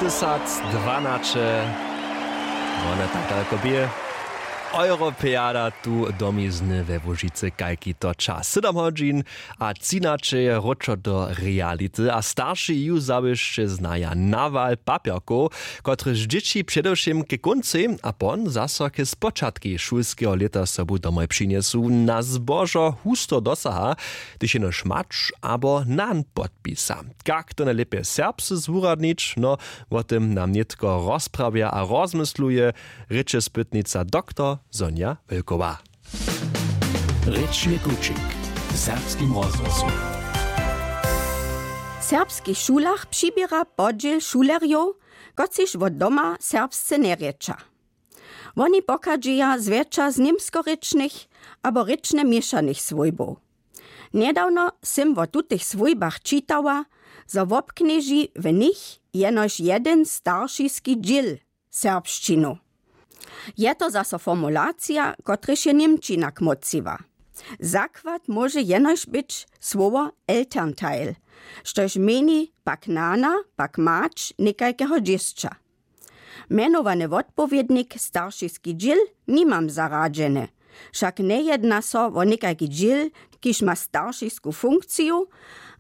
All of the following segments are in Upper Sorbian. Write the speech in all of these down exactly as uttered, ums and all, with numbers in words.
Dwatysacdwanaće. Wone tak daleko bě. Europeada tu domizny we Łužicy, kajki to čas, sedam hodźin a třinaće je wróćo do reality a starši ju zawěsće znaja nawal papjerkow, kotryž dźěći předewšěm ke kóncej a pon zaso ke spočatkej šulskeho lěta sobu domoj přinjesu, na zbožo husto dosaha, hdyž jenož mač abo nan podpisa. Kak to najlěpje serbsce zwuradnić? No, wo tym nam nětko rozprawja a rozmysluje rěčespytnica doktor Sonja Wölkowa. Rěčny kućik w serbskim rozhłosu. W serbskich šulach přiběra podźěl šulerjow, kotřiž wot doma serbsce njerěča. Woni pochadźeja zwjetša z němskorěčnych abo rěčnje měšanych swójbow. Njedawno sym wo tutych swójbach čitała, zo wobknježi w nich jenož jedyn staršiski dźěl serbšćinu. Je to zaso formulacija, kotryž je němčina kmóciła. Zakład móže jenož być słowo elternteil, štož měni pak nana, pak mać někajkeho dźěsća. Mjenowany wotpowědnik staršiski dźěl nimam zaradźeny, wšak njejedna so wo někajki dźěl, kiž ma staršisku funkciju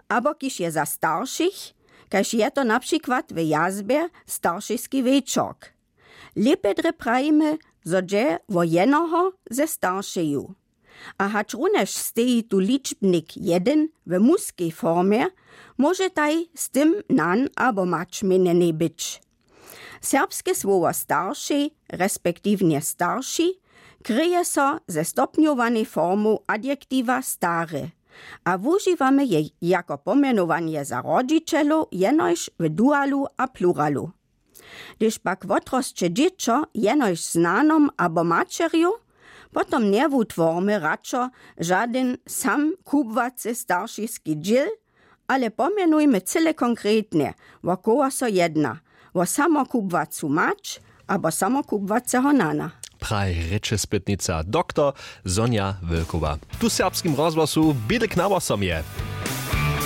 abo kiž je za staršich, kaž je to na přikład w jazbje staršiski wječork. Lěpje drje prajimy, zo dźe wo jenoho ze staršeju. A hačrunjež steji tu ličbnik jedyn w muskej formje, móžetaj z tym nan abo mać měnjenej być. Serbske słowo staršej respektiwnje starši kryje so ze stopnjowanej formow adjektiwa stary a wužiwamy je jako pomjenowanje za rodźićelow jenož w dualu a pluralu. Hdyž pak wotrosće dźěćo jenož z nanom abo maćerju, potom njewutwormy radšo žadyn sam kubłacy staršiski dźěl, ale pomjenujmy cyle konkretnje, wo koho so jedna, wo samokubłacu mać abo samokubłaceho nana. Praji rěčespytnica doktor Sonja Wölkowa tu w serbskim rozhłosu. Bědek na wosom je.